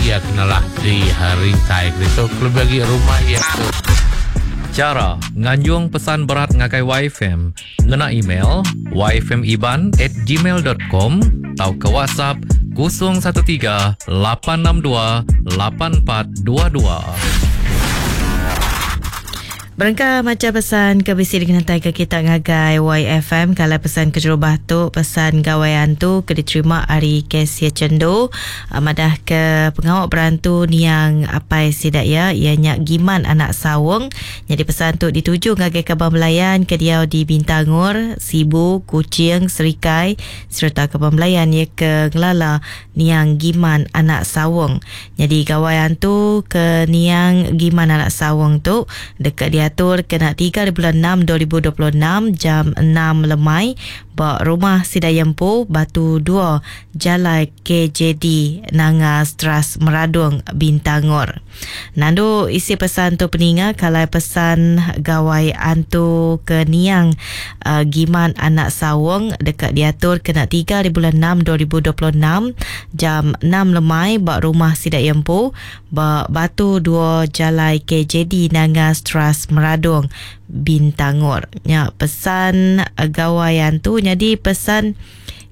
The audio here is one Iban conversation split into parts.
iya ke nelah di rintai ke ditu kelebih agi rumah iya ke Chara nganjung pesan berat ngagai YFM ngena email yfmiban at gmail dot com tauka WhatsApp 013 862 8422. Berengkah macha pesan ke bisi dikenataika kita ngagai YFM ke alai pesan keterubah tu pesan Gawai Antu ke diterima ari Cassia Chendu madahka pengawa berantu niang apai sida iya iya nya Giman anak Saung. Nyadi pesan tu dituju ngagai kaban belayan ke diau di Bintangor, Sibu, Kuching, Serikai sereta kaban belayan iya ke ngelala niang Giman anak Saung. Nyadi Gawai Antu ke niang Giman anak Saung tu deka diatur kena tiga ribulan enam 2026 jam enam lemai ba Rumah Sida Yempu, Batu dua, Jalai KJD Nanga Stras Meradong, Bintangor. Nandu isi pesan tu peninga kalai pesan Gawai Antu ke niang Giman anak Saung deka diatur kena tiga ari bulan enam 2026 jam enam lemai ba rumah sida iya empu ba Batu dua Jalai KJD Nanga Stras Meradong Bintangor. Nya pesan Gawai Antu nyadi pesan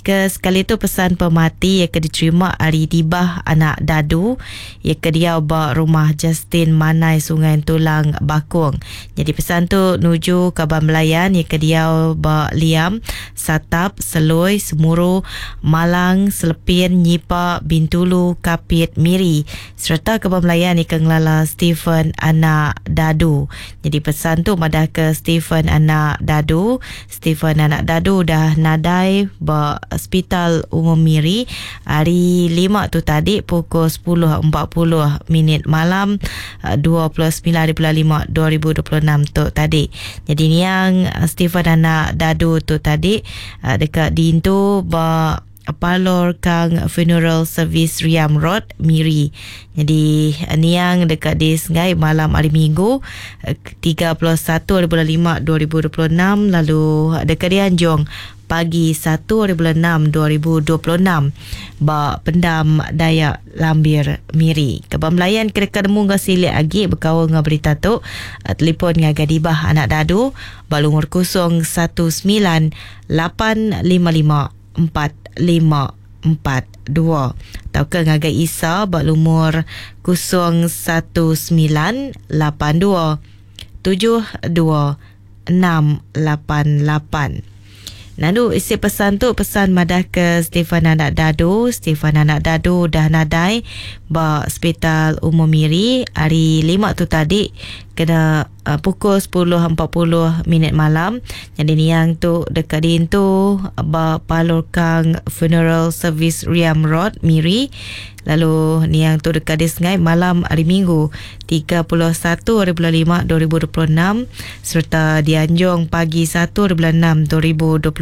Ke sekali tu pesan pemati iya ke diterima ari Dibah anak Dadu iya ke diau ba Rumah Justin Manai Sungai Entulang Bakong. Nyadi pesan tu nuju kaban belayan iya ke diau ba Liam, Satap, Seloi, Semuru, Malang, Selepin, Nyipa, Bintulu, Kapit, Miri sereta kaban belayan iya ke ngelala Stephen anak Dadu. Nyadi pesan tu madahka Stephen anak Dadu Stephen anak Dadu udah nadai ba Sepital Umum Miri hari Lima tu tadi pukul 10.40 minit malam 29 hari bulan lima 2026 tu tadi. Nyadi niang Stephen anak Dadu tu tadi deka diintu ba Parlor Kang Funeral Service Riam Road, Miri. Nyadi niang deka disengai malam hari Minggu 31 hari bulan lima 2026 lalu deka dianjung pagi satu hari bulan enam 2026 ba Pendam Dayak Lambir, Miri. Kaban belayan ke deka nemu enggau silik agi bekaul enggau berita tu, telefon ngagai Dibah Anak Dadu ba lumur 019 855 4542 tauka ngagai Isa ba lumur 0198 2 72 688. Nandu isi pesan tu pesan madahka Stephen Anak Dadu. Stephen Anak Dadu udah nadai ba Sepital Umum Miri hari Lima tu tadi kena pukul 10.40 minit malam. Nyadi niang tu deka diintu ba Palor Kang Funeral Service Riam Road, Miri. Lalu niang tu deka disengai malam hari Minggu 31 hari bulan lima 2026 sereta dianjung pagi satu hari bulan enam 2026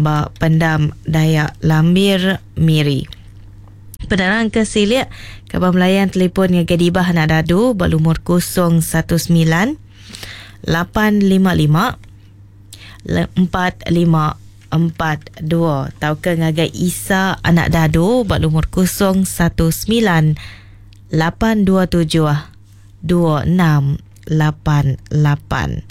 ba Pendam Dayak Lambir, Miri. Penerang ke silik, kaban belayan telefon ngagai Dibah Anak Dadu ba lumur 019 855 4542 tauka ngagai Isa Anak Dadu ba lumur 019 827 2688.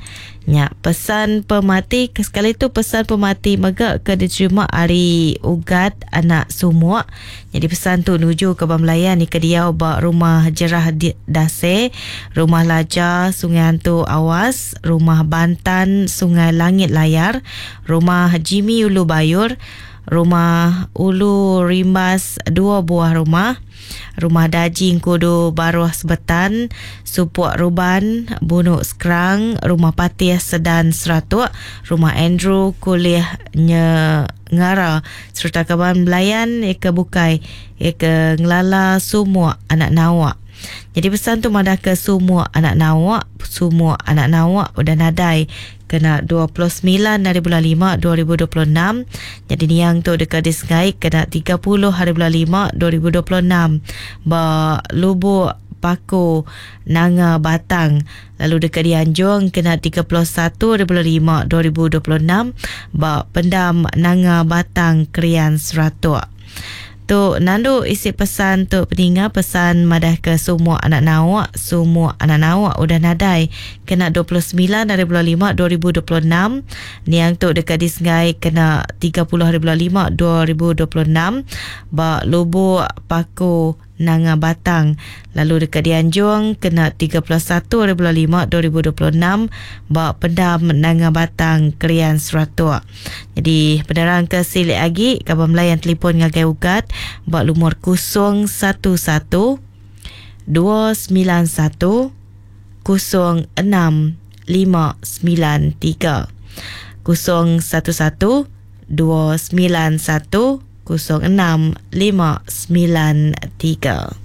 Nya pesan pemati ke sekali tu pesan pemati mega ke diterima ari Ugat anak Sumuk. Nyadi pesan tu nuju ke ba Melayan ke diau ba Rumah Jerah Dase, Rumah Laja Sungai Antu Awas, Rumah Bantan Sungai Langit Layar, Rumah Jimmy Ulu Bayur, Rumah Ulu Rimbas dua buah rumah, Rumah Daji Engkudu Baruh Sebetan, Supuk Ruban, Bunuk Skrang, Rumah Patih Sedan Seratuk, Rumah Andrew Kulih Nyengara sereta kaban belayan iya ke bukai iya ke ngelala Sumuk anak Nawak. Nyadi pesan tu madahka Sumuk anak Nawak, Sumuk anak Nawak udah nadai Kena 29 hari bulan lima 2026, nyadi niang tu deka disengai kena 30 hari bulan lima 2026 ba Lubuk Paku, Nanga Batang lalu deka dianjung kena 31 hari bulan lima 2026 ba Pendam Nanga Batang, Krian, Seratok. Tu nandu isi pesan tu peninga pesan madah ke semua anak nauk, semua anak nauk udah nadai kena 29 hari bulan 5 2026. Niang tu dekat disengai kena 30 hari bulan 5 2026 ba Lubuk Paku Nanga Batang lalu deka dianjung kena 31 hari bulan 5 2026 ba Pendam Nanga Batang Krian Seratok. Jadi penerang ke silik agi kaban melayan telefon ngagai Ugat ba lumur 011 291 06 593 011 291 06 593.